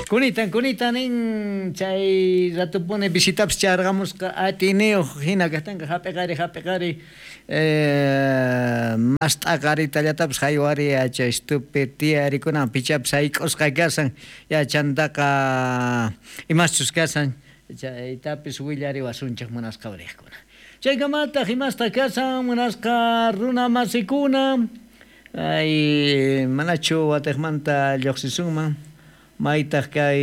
Kunitan, kunitan nin chay ratupuni visitapis charqamusqa atiyniyuq hina kaqtinqa hap'iqari hap'iqari mast'aqaritallatapis haywari yachaystupi tiyarikunan pichapis hayk'usqa kasan yachantaqa imaschus kasan chaytapis willariwasunchik munasqa uriqkuna. Chaykamataq imasta kasan munasqa runa masikuna ay manachu watiqmanta lluqsisunman maytaq kay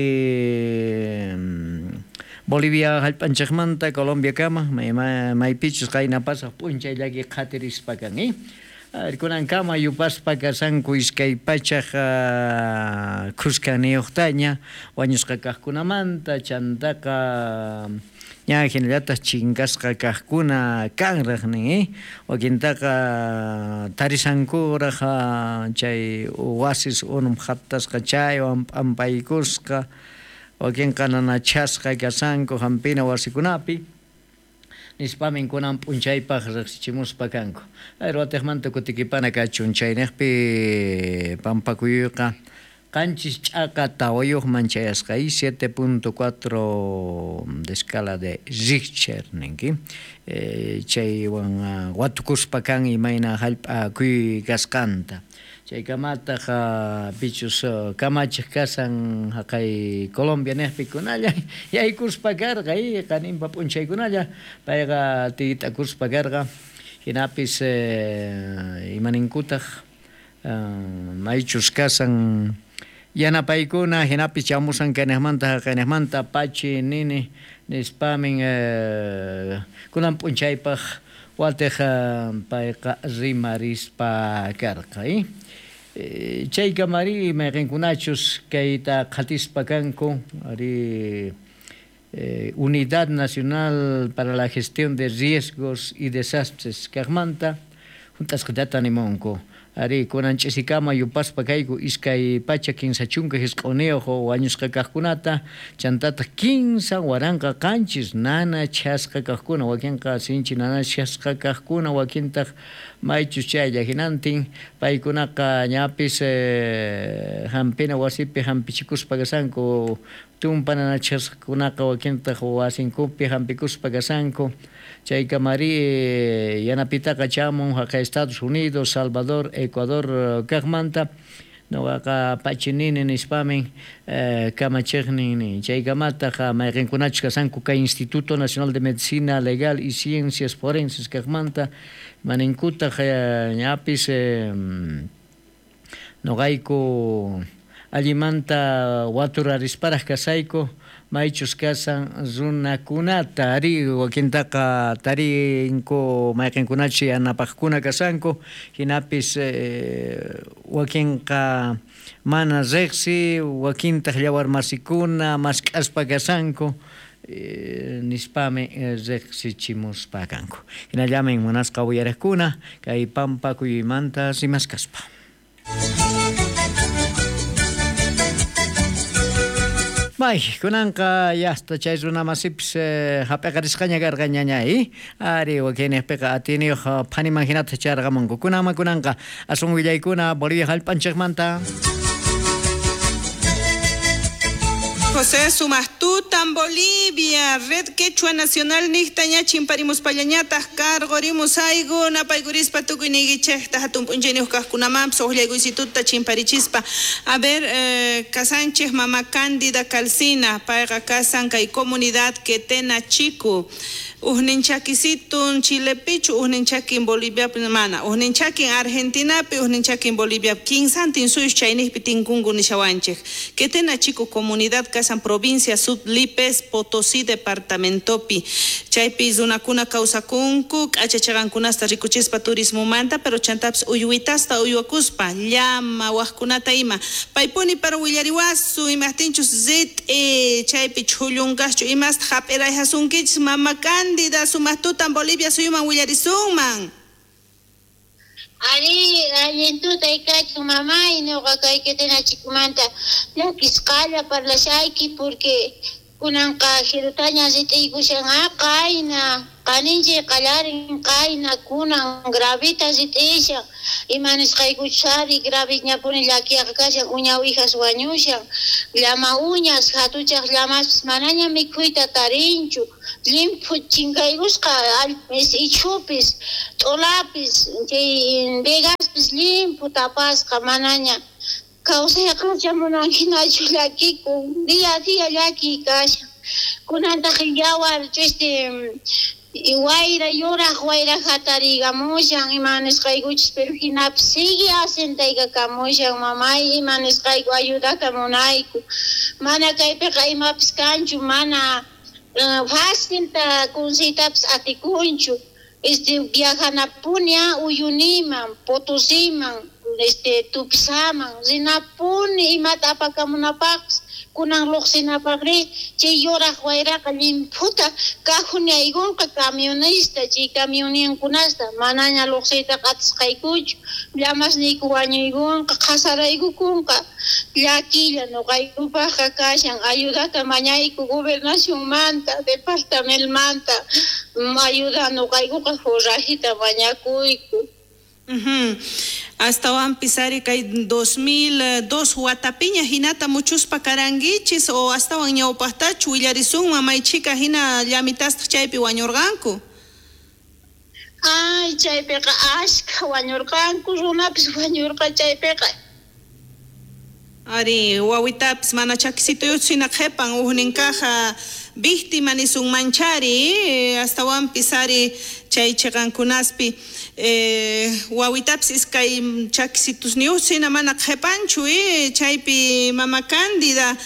Bolivia hallp'anchikmanta Colombia kama maypichus qayna pasaq p'unchay llaki qhatirispa kan kunankama yupaspa kasanku 200 khuskaniyuqtaña wañusqa kaqkunamanta chantaqa ña hinallataq chinkasqa kaqkuna kanraq nin wakintaqa tarisankuraq chay wasis unum hatasqa chaywan p'ampaykusqa wakinqa nanachasqa kasanku hampina wasikunapi nispamin kunan p'unchaypaq riqsichimuspa kanku. Watiqmanta kutikipana kachun chayniqpi pampakuyuyqa 7.4 man chayasqa 7.4 de escala de Richter ninki chaywan watukuspa kan imayna hallp'a kuyuy kasqanta chaykamataq pichus kamachiq kasan haqay Colombia niqpi kunalla yaykuspa karqa qaninpa p'unchaykunalla payqa tiytakuspa karqa hinapis imaninkutaq maychus kasan yanapaykuna hinapis chamusan kayniqmanta haqayniqmanta pachi nini nispamin kunan p'unchaypaq watiq payqa rimarispa karqa chaykamari mayqinkunachus kayta qhatispa kanku ari Unidad Nacional para la Gestión de Riesgos y Desastres kaqmanta hunt'asqatata nimunku ari kunan ch'isikama yupaspa kayku 239 wañusqa kaqkunata chantataq 3007 nanachasqa kaqkuna wakinqa sinchi nanachasqa kaqkuna wakintaq maychus chaylla hinantin paykunaqa ñapis hampina wasipi hampichikuspa kasanku tumpa nanachasqakunaqa wakintaq wasinkupi hampikuspa kasanku chaykamari yanapitaqa chamun haqay Estados Unidos, Salvador, Ecuador kaqmanta nuqaqa pachinini nispamin kamachiqnin nin chaykamataq mayqinkunachus kasanku kay Instituto Nacional de Medicina Legal y Ciencias Forenses kaqmanta maninkutaq ñapis nuqayku allimanta watuраrisparaq kasayku maychus kasan runakunata ari wakintaqa tarinku mayqinkunachus yanapaqkuna kasanku hinapis wakinqa mana riqsi wakintaq llawarmasikuna mask'aspa kasanku nispami riqsichimuspa kanku hinallamin munasqa uyariqkuna kay pampa kuyuymanta rimaskaspa. May, kunanqa yasta chay runamasipis hap'iqarisqaña karqa ñañay ari wakinniqpiqa atiyniyuq phaniman hinata charqamunku kunanman kunanqa aswan willaykuna Bolivia hallp'anchikmanta. José Sumastutan, Bolivia, Red Quechua Nacional niqtaña chimparimuspallañataq karqurimus aygu napaykurispa tukuy niykichikta hatun p'unchayniyuq kaqkunamanpis uqllaykuystituta chimparichispa. A ver, kasanchik mama Cándida Calcina, payqa kasan kay comunidad Quetena Chico. Ujnin chakisitun Chilepichu, ujnin chakin Boliviapi mana, ujnin chakin Argentinapi, ujnin chakin Boliviapi, kinsantin suyus chayniqpi tinkunku nishawanchik. Quetena Chico comunidad kasan provincia Sud Lipes, Potosí departamentopi. Chaypi runakuna kawsakunku, k'achachaqankunasta rikuchispa turismomanta, pero chantapis uywitasta uywakuspa, llama waqkunata ima. Paypuni pero willariwasu, imaqtinchus rit'i, chaypi chhullunqaschu imasta hap'irayhasunkichis mama Cándida, sumaqtutan Bolivia suyuman willarisunman. Ari, allintuta kachun mamay, ñuqa kay Quetena Chicomanta llakisqalla parlashayki porque kunanqa jirutaña rit'iykushan qayna qaninchik qallarin qayna kunan gravita rit'ishan ima nisqaykuchus ari graviñapuni llakiyaqa kashan uña uwijas wañushan Llama uñas, hatuchaq llamaspis manaña mikhuyta tarinchu. Llimphu chinkaykusqa ichhupis, t'ulapis, chay vegaspis llimphu tapasqa manaña. Kawsayqa chamunan hinachu llakikun, día a día llakiy kashan. Kunantaq yawar wayra yuraq wayra hatariykamushan ima nisqaykuchis, pero hinapis sigue asentaykamushan mamay, ima nisqayku ayudata munayku. Mana kaypiqa imapis kanchu, mana facilta kunsiytapis atikunchu. Viajanapuni Uyuniman, Potosiman, Tupisaman, rinapuni imata apakamunapaqpis. Kunan luqsinapaqri chay yuraq wayraqa llimphuta kajunaykunqa camionista, chay camioninkunasta manaña luqsiytaqa atisqaykuchu, llamasniyku wañuykunqa, qhasaraykukunqa. Llakilla nuqaykupaqqa kashan, ayudata mañayku gobernacionmanta, departamentmanta, ayuda nuqaykuqa forrajita mañakuyku. Astawanpis ari kay 2002 watapiña hinata muchuspa karankichis o astawan ñawpaqtachu willarisunman maychika hina llamitastaq chaypi wañurqanku. Ay, chaypiqa ashkha wañurqanku, runapis wañurqa chaypiqa. Ari, wawitapis mana chakisituyuchu hina qhipan ujnin kaja víctima nisunmanchari, astawanpis ari chay chiqankunaspi wawitapis iskay chakisitusniyuchu hina mana qhipanchu, chaypi mama Cándida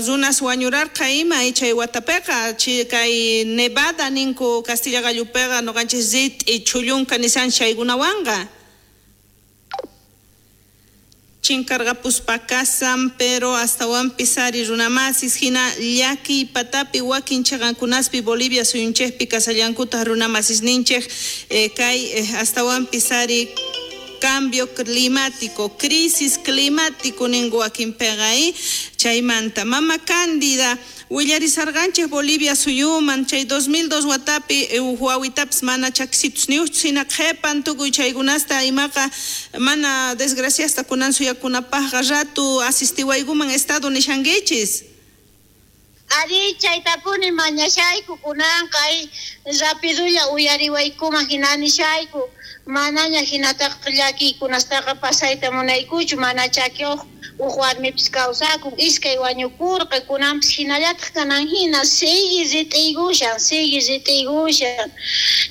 runas wañurarqa ima chay watapiqa kay Nevada ninku Castilla gallupiqa nuqanchis rit'i chhullunka nisan chaykunawanqa. Chinkarqapuspa kasan, pero astawanpis ari runamasis hina llakiy patapi wakin chiqankunaspi Bolivia suyunchikpi kasallankutaq runamasisninchik kay astawanpis ari cambio climático, crisis climático ninku wakinpiqa chaymanta. Mama Cándida willarisarqanchik Bolivia suyuman chay 2002 watapi wawitapis mana chakisitusniyuqchu hina qhipan tukuy chaykunasta imaqa mana desgraciasta kunan suyakunapaqqa ratu asistiwaykuman estado nishankichis. Ari, chaytapuni mañashayku kunanqa rapidulla uyariwaykuman hina nishayku. Manaña hinataqa llakiykunastaqa pasayta munaykuchu, mana chakiyuq uj warmipis kawsakun, iskay wañukurqa, kunanpis hinallataq kanan hina sigue rit'iykushan, sigue rit'iykushan.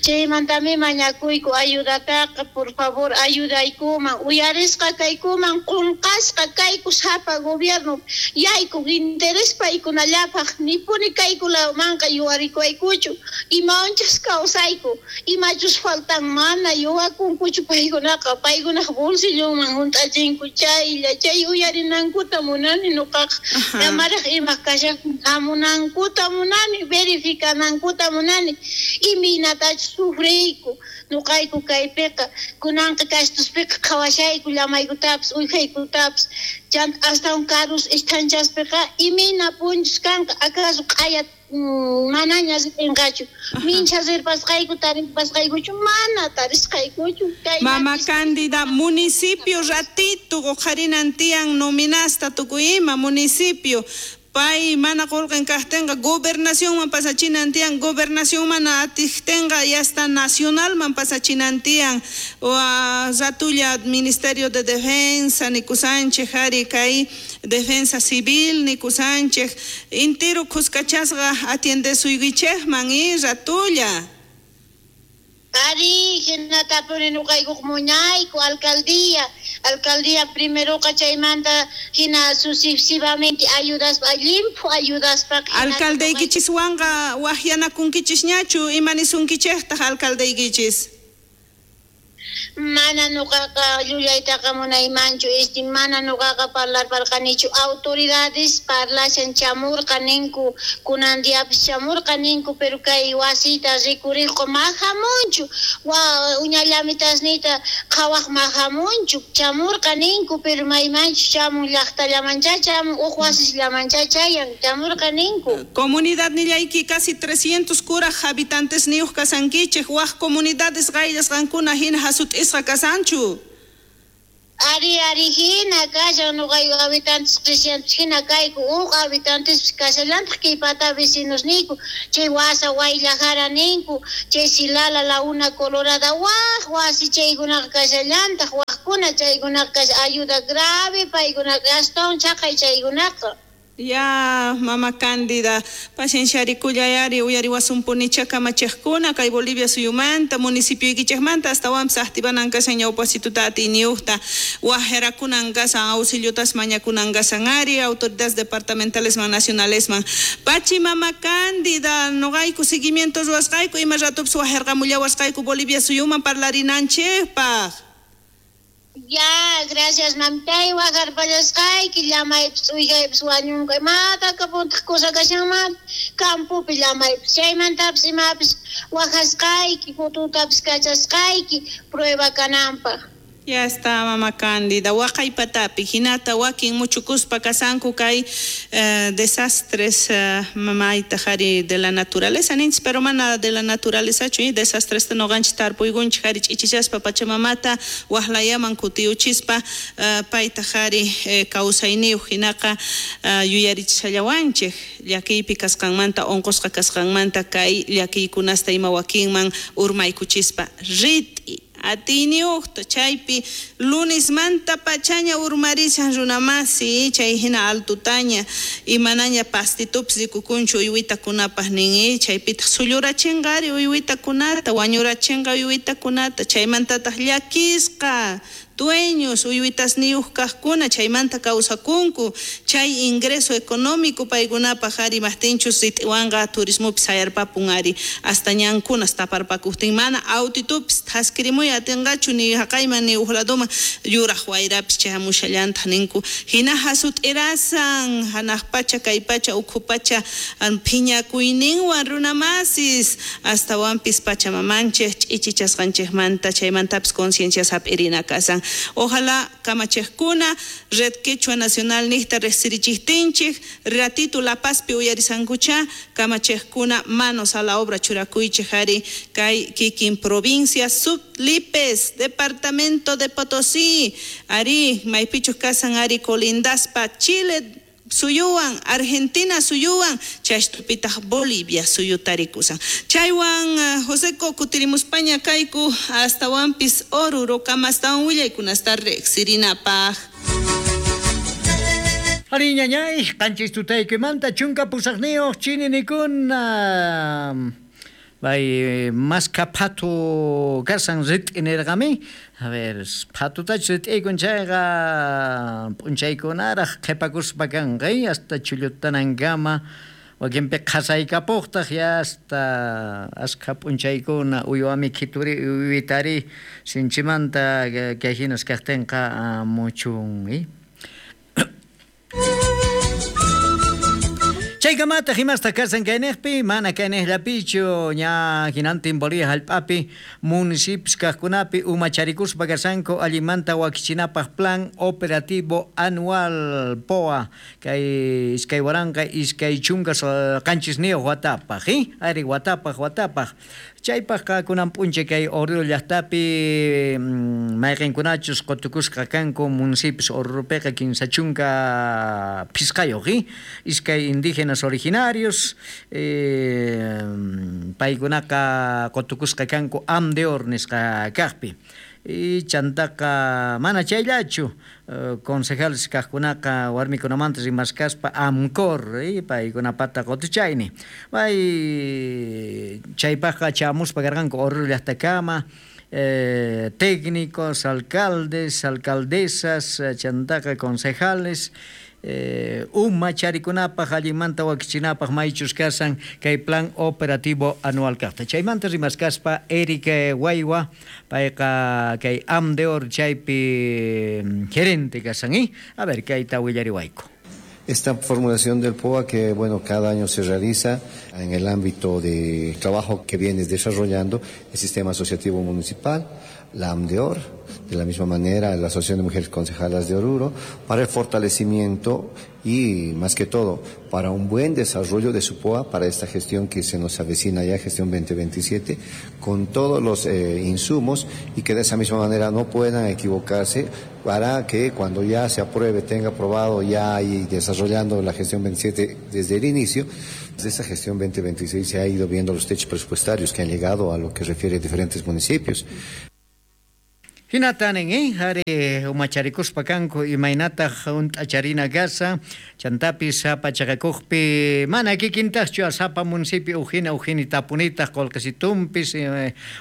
Chaymantami mañakuyku ayudataqa, por favor ayudaykuman, uyarisqa kaykuman, qunqasqa kayku sapa gobierno yayku interés paykunallapaq, nipuni kaykunamanqa yuwarikuwaykuchu, imawanchus kawsayku, imachus faltan mana yuwakunkuchu paykunaqa, paykunaq bolsillonman hunt'achinku chaylla, chay uyarinankuta munani nuqaqa, amaraq ima kashan hamunankuta munani, verificanankuta munani, imaynatachus sufriyku nuqayku kaypiqa, kunanqa kastuspiqa qhawashayku llamaykutapis uwijaykutapis, chanta astawan karus isthanchaspiqa imayna punchus kanqa, acaso q'aya manaña ritinqachu, mincha rirpasqayku taripasqaykuchu, mana tarisqaykuchu. Mama Cándida, municipio ratito uqharinan tiyan nominasta tukuy ima municipio pay mana qullqin kaqtinqa gobernacionman pasachinan tiyan, gobernación mana atiqtinqa y hasta nacionalman pasachinan tiyan, ratulla Ministerio de Defensa nikusanchik ari kay Defensa Civil nikusanchik intiru khuskachasqa atiendesuykichikman ratulla. Ari, hinatapuni nuqaykuq muñayku alcaldía, alcaldía primeroqa chaymanta hina sucesivamente ayudaspa, llimphu ayudaspa. Alcaldeykichiswanqa waqyanakunkichisñachu, ima nisunkichiktaq alcaldeykichis? Mana nuqaqa llullaytaqa munaymanchu, mana nuqaqa parlarparqanichu, autoridades parlashan chamurqa ninku, kunan diapis chamurqa ninku, pero kay wasita rikuriqqa mahamunchu, uñallamitasniyta qhawaq mahamunchu, chamurqa ninku, pero maymanchu chamun, llaqtallamancha chamun, uq wasisllamancha chayan, chamurqa ninku. Comunidad nillayki casi 300 kuraj habitantes niyuq kasankichik, waq comunidades qayllasqankuna hina hasut'isqa kasanchu. Ari ari hina kashan nuqayku habitantes presidentes hina kayku uq habitantes kashallantaq kay pata vecinos niyku chay wasa Wayllajara ninku chay Silala la una colorada waj wasi chaykunaqa kashallantaq wajkuna chaykunaqa kashan ayuda grave paykunaqa astawan chaqay chaykunaqa. Ya, mama Cándida, pacienciarikuyari uyariwasumpunicha kamachiqkuna kay Bolivia suyumanta, municipioykichikmanta astawanpis activanan kashan ñawpasituta atiyniyuqta wajerakunan kasan auxiliotas mañakunan kasan ari autoridades departamentalesman nacionalesman. Pachi mama Cándida, noqayku seguimiento ruwasqayku ima ratupis wajerqamullawasqayku Bolivia suyuman parlarinanchikpaq. Ya, gracias mamtay wajarpallasqayki llamaypis uywaypis wañunqa imata kapuntaq kusa kashanman campopi llamaypis chaymantapis imapis wajasqayki fotutapis kachasqayki prueba kananpaq. Ya está, mama Cándida. Waqaypatapi hinata wakin muchukuspa kasanku kay desastres mamayta jari de la naturaleza ninchis, pero mana de la naturaleza chu desastres noqanchis tarpuykunchik jari ch'ichichaspa pachamamata waqlayaman kutiyuchispa payta jari kawsayniyuq hinaqa yuyarichishallawanchik llakiypi kasqanmanta unqusqa kasqanmanta kay llakiykunasta ima wakinman urmaykuchispa rit'i atiyniyuqta chaypi lunismanta pachaña urmarishan runamasi chay hina altutaña imanaña pastitupis rikukunchu uywitakunapaq nin chaypitaq sullurachinqari uywitakunata wañurachinqa uywitakunata chaymantataq llakisqa dueños uywitasniyuq kaqkuna chaymanta kawsakunku chay ingreso económico paykunapaq ari maqtinchus rit'iwanqa turismopis sayarpapun ari hasta ñankunas taparpakuqtin mana autitupis thaskirimuy atinqachu ni haqayman ni uq ladoman yuraq wayrapis chayamushallantaq ninku hina hasut'irasan hanaq pacha kay pacha ukhu pacha phiñakuyninwan runamasis astawanpis pachamamanchik ch'ichichasqanchikmanta chaymantapis conciencias hap'irina kasan. Ojalá kamachiqkuna Red Quechua Nacional niqta riqsirichiqtinchik ratito La Pazpi uyarisankucha kamachiqkuna manos a la obra churakuychik ari kay kikin provincia Sublipes departamento de Potosí ari maypichus kasan ari colindaspa Chile suyuwan Argentina suyuwan chaystupitaq Bolivia suyutarikusan chaywan Joseco kutirimuspaña kayku astawanpis Oruro kama astawan willaykunasta riqsirinapaq. Ari ñañay qanchis tutaykimanta chunka pusaqniyuq chininikuna bay maska phatu kasan rit'i nirqami. A ver, phatutachus rit'iykun chayqa p'unchaykunaraq qhipakuspa kanqa hasta chullutanankama wakinpi qhasaykapuqtaq ya hasta askha p'unchaykuna uywami khituri uywitari sinchimanta kay hinas kaqtinqa muchun. Chaykamataq imasta kasan kayniqpi mana kayniqllapichu ña hinantin Bolivia hallp'api municipios kaqkunapi umacharikuspa kasanku allimanta wakichinapaq plan operativo anual POA kay 2027 watapaq ari watapaq watapaq chaypaqqa kunan p'unchay kay Oruro llaqtapi mayqinkunachus qutukusqa kanku municipios Oruropiqa 35 iskay indígenas originarios paykunaqa qutukusqa kanku AMDEOR nisqa kaqpi y chantaqa mana chayllachu concejales kaqkunaqa warmikunamanta rimaskaspa AMCOR paykunapata qutuchayni bay chaypaqqa chamuspa karqanku Oruro llaqtakama técnicos, alcaldes, alcaldesas, chantaqa concejales umacharikunapaq allimanta wakichinapaq maychus kasan kay plan operativo anual kaqta chaymanta rimaskaspa Eric Waywa payqa kay AMDEOR chaypi gerente kasan a ver kayta willariwayku. Esta formulación del POA que, bueno, cada año se realiza en el ámbito de trabajo que viene desarrollando el sistema asociativo municipal, la AMDEOR, de la misma manera la Asociación de Mujeres Concejalas de Oruro, para el fortalecimiento y más que todo para un buen desarrollo de su POA para esta gestión que se nos avecina ya, gestión 2027, con todos los insumos y que de esa misma manera no puedan equivocarse para que cuando ya se apruebe, tenga aprobado ya y desarrollando la gestión 27 desde el inicio. Desde esta gestión 2026 se ha ido viendo los techos presupuestarios que han llegado a lo que refiere a diferentes municipios. Hinatanin, hari umacharikuspa kanku imaynataq hunt'acharina kasa chantapis sapa chaqakuqpi mana kikintaqchu sapa municipio ujina ujini tapunitaq qullqisitumpis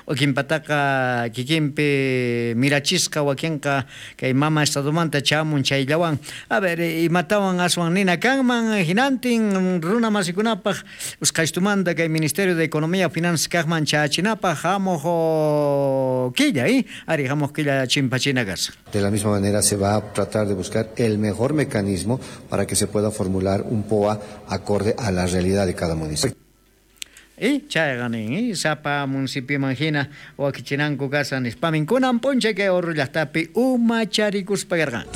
wakinpataqa kikinpi mirachisqa wakinqa kay mama estadomanta chamun chayllawan. A ver, imatawan aswan nina kanman hinantin runa masikunapaq usqhaystumanta kay Ministerio de Economía Finanzas kaqman chachinapaq hamuq killa, ari hamuq killa chimpachina casa. De la misma manera se va a tratar de buscar el mejor mecanismo para que se pueda formular un POA acorde a la realidad de cada municipio. Y chayqa nin, sapa municipioman hina wakichinanku kasa nispamin kunan p'unchay kay Oruro llaqtapi umacharikuspa karqanku.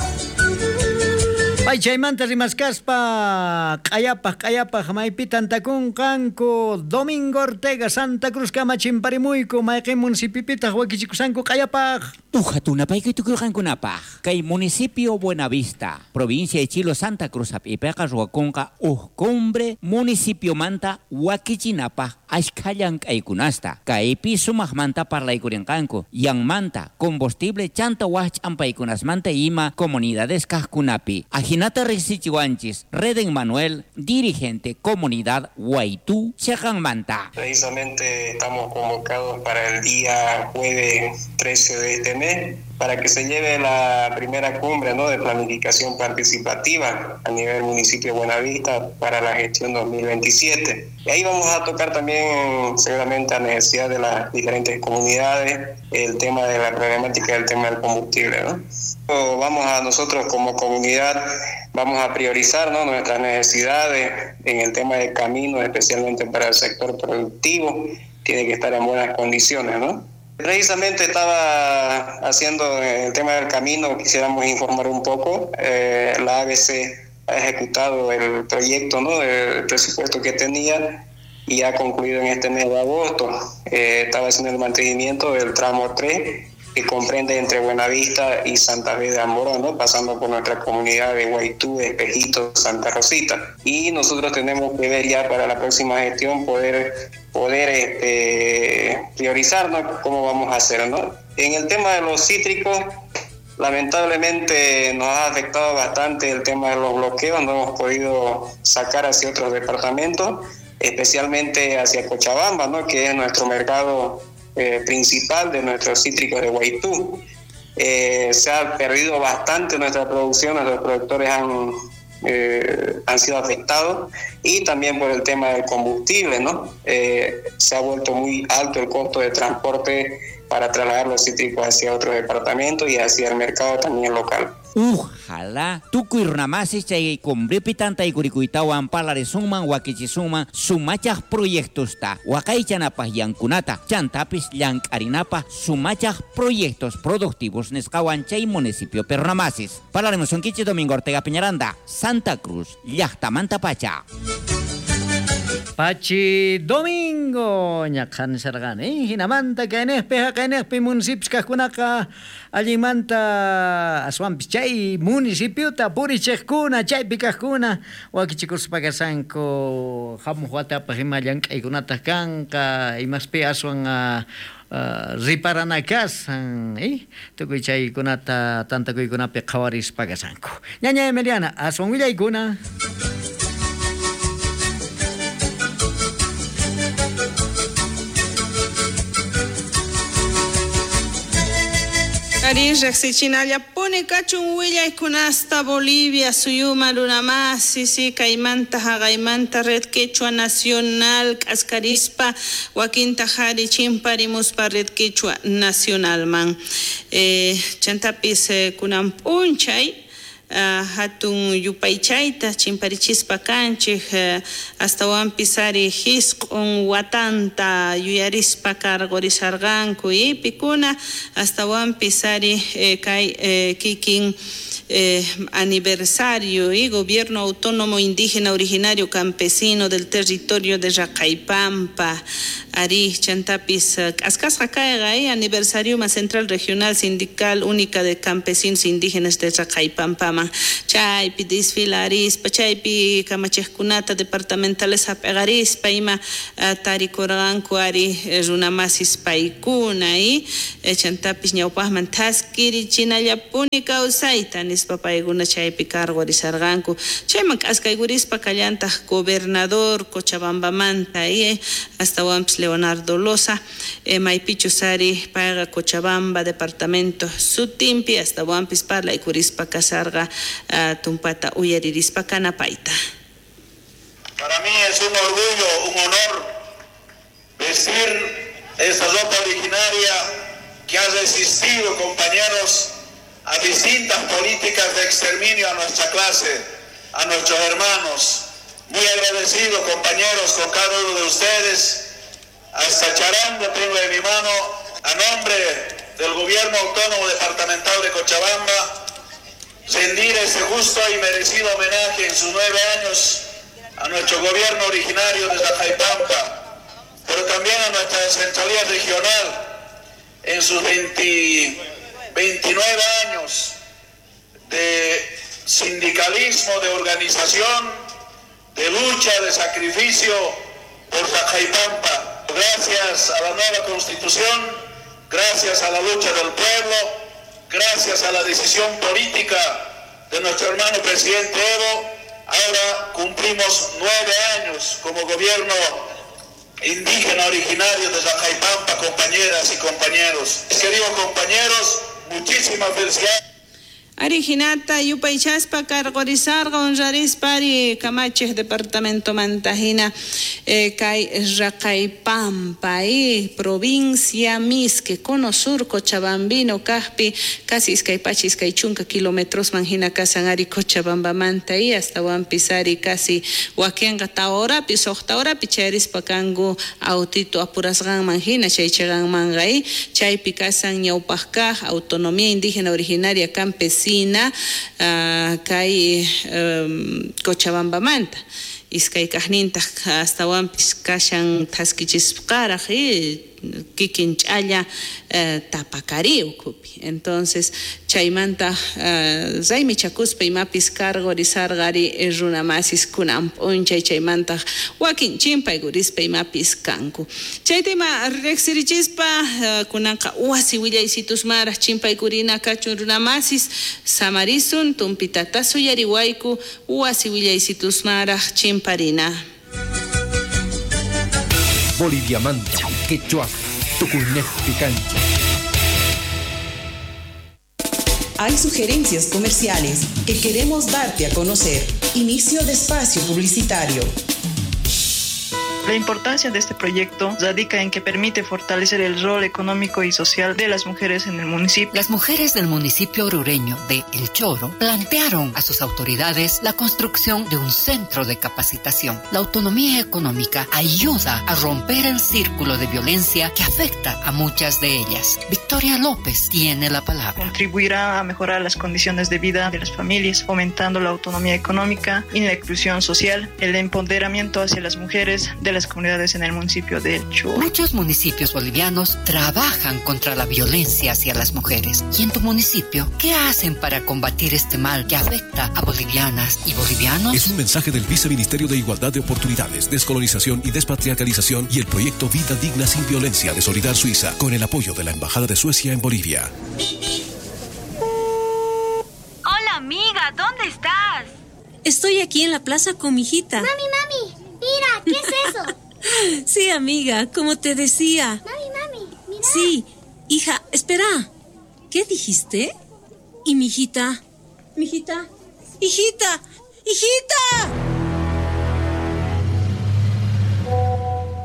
Pay chaymanta rimaskaspa q'ayapaq maypi tantakunqanku Domingo Ortega Santa Cruz kama chimparimuyku mayqin municipipitaq wakichikusanku q'ayapaq. Ujatunapaykuy tukurqankunapaq kay municipio Buenavista, provincia de Chilo Santa Cruz hap'ipiqa ruwakunqa uj cumbre municipiomanta wakichinapaq ashkha llank'aykunasta kaypi sumaqmanta parlaykurinqanku yanmanta combustible chanta waj ch'ampaykunasmanta ima comunidades kaqkunapi. Ajinata riqsichiwanchis Reden Manuel, dirigente comunidad Guaytú, Cheqanmanta. Precisamente estamos convocados para el día jueves 13 de este mes para que se lleve la primera cumbre, ¿no?, de planificación participativa a nivel municipio de Buenavista para la gestión 2027. Y ahí vamos a tocar también seguramente a necesidad de las diferentes comunidades, el tema de la problemática del tema del combustible, ¿no? Vamos a nosotros como comunidad, vamos a priorizar, ¿no?, nuestras necesidades en el tema de caminos, especialmente para el sector productivo, tiene que estar en buenas condiciones, ¿no? Precisamente estaba haciendo el tema del camino, quisiéramos informar un poco. La ABC ha ejecutado el proyecto, ¿no?, el presupuesto que tenía y ha concluido en este mes de agosto. Estaba haciendo el mantenimiento del tramo 3, que comprende entre Buenavista y Santa Fe de Amboró, ¿no?, pasando por nuestra comunidad de Guaytú, Espejito, Santa Rosita. Y nosotros tenemos que ver ya para la próxima gestión poder priorizar, ¿no?, cómo vamos a hacer, ¿no? En el tema de los cítricos, lamentablemente nos ha afectado bastante el tema de los bloqueos, no hemos podido sacar hacia otros departamentos, especialmente hacia Cochabamba, ¿no?, que es nuestro mercado principal de nuestros cítricos de Guaytú. Se ha perdido bastante nuestra producción, nuestros productores han sido afectados y también por el tema del combustible, ¿no? Se ha vuelto muy alto el costo de transporte para trasladar los cítricos hacia otros departamentos y hacia el mercado también local. Ojalá tukuy runamasis chay cumbripi tantaykurikuytawan parlarisunman wakichisunman sumachaj proyectosta waqaychanapaj yankunata chantapis llank'arinapaj sumachaj proyectos productivos nisqawan chay municipio perunamasis. Parlaremos sonkichi Domingo Ortega Peñaranda, Santa Cruz, llaqtamanta pacha. Pachi Domingo ñaqhan sarqani hinamanta kaynejpi haqaynejpi municipios kaqkunaqa allinmanta aswanpis chay municipiota purichiqkuna chaypi kaqkuna wakichikuspa kasanku hamuq watapaq ima llank'aykunataq kanqa imaspi aswan riparana kasan tukuy chaykunata tantakuykunapi qhawarispa kasanku. Ñaña Emiliana, aswan willaykuna. Ari riqsichinallapuni kachun willaykunasta Bolivia suyuma runamasi si kaymanta haqaymanta Red Quechua Nacional k'askarispa wakinta hari chimparimuspa Red Quechua Nacionalman. Chantapis kunan p'unchay hatun yupaychayta chimparichispa kanchik astawanpis ari hisq'un watanta yuyarispa karqurisarqanku y pikuna astawanpis ari kay kikin aniversario y Gobierno Autónomo Indígena Originario Campesino del Territorio de Raqaypampa ari chantapis k'askasqa kayqa aniversario más Central Regional Sindical Única de Campesinos Indígenas de Raqaypampaman chaypi desfilarispa chaypi kamachiqkunata departamentales hap'iqarispa ima tarikurqanku ari runamasis paykuna y chantapis ñawpaqman thaskirichinallapuni kawsayta nispa paykuna chaypi cargorisarqanku chayman k'askaykurispa kallantaq gobernador Cochabambamanta y astawanpis Leonardo Loza maypichus ari payqa Cochabamba departamento sutinpi astawanpis parlaykurispa kasarqa tumpata uyaririspa kanapayta. Para mí es un orgullo, un honor vestir esa ropa originaria que ha resistido, compañeros, a distintas políticas de exterminio a nuestra clase, a nuestros hermanos. Muy agradecido, compañeros, con cada uno de ustedes. Hasta charango tengo en mi mano, a nombre del Gobierno Autónomo Departamental de Cochabamba, rendir ese justo y merecido homenaje en sus 9 años a nuestro gobierno originario de Raqaypampa, pero también a nuestra centralía regional en sus 29 años de sindicalismo, de organización, de lucha, de sacrificio por Raqaypampa. Gracias a la nueva Constitución, gracias a la lucha del pueblo, gracias a la decisión política de nuestro hermano presidente Evo, ahora cumplimos 9 años como gobierno indígena originario de Raqaypampa, compañeras y compañeros. Queridos compañeros, muchísimas felicidades. Arijinata yupaychaspa karqorisarqa honrarispa ari kamachiq departamento mantajina kay Raqaypampa provincia Misque cono sur Cochabambino kaqpi casi iskay pacha iskay chunka kilómetros manjina kasan ari Cochabambamanta y astawanpis ari casi wakinqa tawa horapi suqta horapi chayrispa kanku autito apurasqanman hina chay chayqanmanqa chaypi kasan ñawpaq kaq autonomía indígena originaria campesina kay Cochabambamanta iskay kaqnintaq astawanpis kashan thaskichisqaraq kikin ch'alla tapakari ukhupi. Entonces chaymanta raymichakuspa imapis cargorisarqari runamasis kunan p'unchay chaymanta wakin chimpaykurispa imapis kanku. Chayta ima riqsirichispa kunanqa wasi willaysitusmaraq chimpaykurina kachun runamasis samarisun tumpitata suyariwayku wasi willaysitusmaraq chimparina. Boliviamanta, Quechua, Tucunejpi cancha. Hay sugerencias comerciales que queremos darte a conocer. Inicio de espacio publicitario. La importancia de este proyecto radica en que permite fortalecer el rol económico y social de las mujeres en el municipio. Las mujeres del municipio orureño de El Choro plantearon a sus autoridades la construcción de un centro de capacitación. La autonomía económica ayuda a romper el círculo de violencia que afecta a muchas de ellas. Victoria López tiene la palabra. Contribuirá a mejorar las condiciones de vida de las familias, fomentando la autonomía económica y la inclusión social, el empoderamiento hacia las mujeres de las comunidades en el municipio de El Choro. Muchos municipios bolivianos trabajan contra la violencia hacia las mujeres. ¿Y en tu municipio qué hacen para combatir este mal que afecta a bolivianas y bolivianos? Es un mensaje del Viceministerio de Igualdad de Oportunidades, Descolonización y Despatriarcalización y el proyecto Vida Digna Sin Violencia de Solidar Suiza, con el apoyo de la Embajada de Suecia en Bolivia. Hola amiga, ¿dónde estás? Estoy aquí en la plaza con mi hijita. Mami, mami, mira, ¿qué es eso? Sí, amiga, como te decía. Mami, mami, mira. Sí, hija, espera. ¿Qué dijiste? ¿Y mi hijita? ¿Mi hijita? ¡Hijita! ¡Hijita!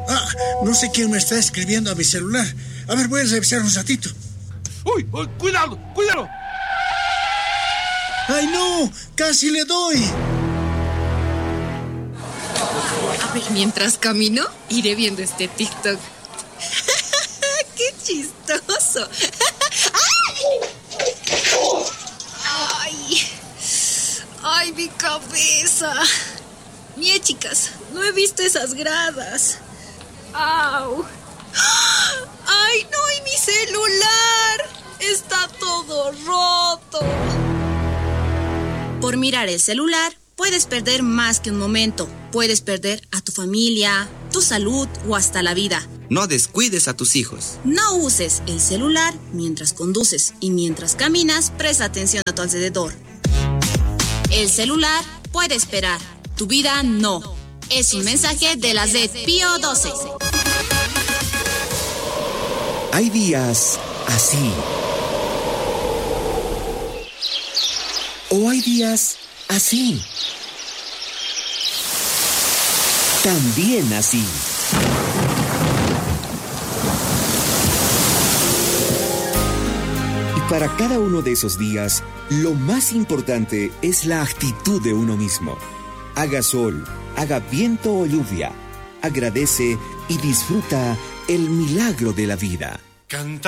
Ah, no sé quién me está escribiendo a mi celular. A ver, voy a revisar un ratito. ¡Uy! ¡Uy! ¡Cuidado! ¡Cuidado! ¡Ay, no! ¡Casi le doy! A ver, mientras camino, iré viendo este TikTok. ¡Qué chistoso! ¡Ay! ¡Ay! ¡Ay, mi cabeza! Mie, chicas, no he visto esas gradas. ¡Au! ¡Ay, no! ¡Y mi celular! Está todo roto. Por mirar el celular, puedes perder más que un momento. Puedes perder a tu familia, tu salud o hasta la vida. No descuides a tus hijos. No uses el celular mientras conduces y mientras caminas, presta atención a tu alrededor. El celular puede esperar, tu vida no. Es un mensaje de la Red Pío 12. Hay días así. O hay días así. También así. Y para cada uno de esos días, lo más importante es la actitud de uno mismo. Haga sol, haga viento o lluvia. Agradece y disfruta el milagro de la vida. Canta.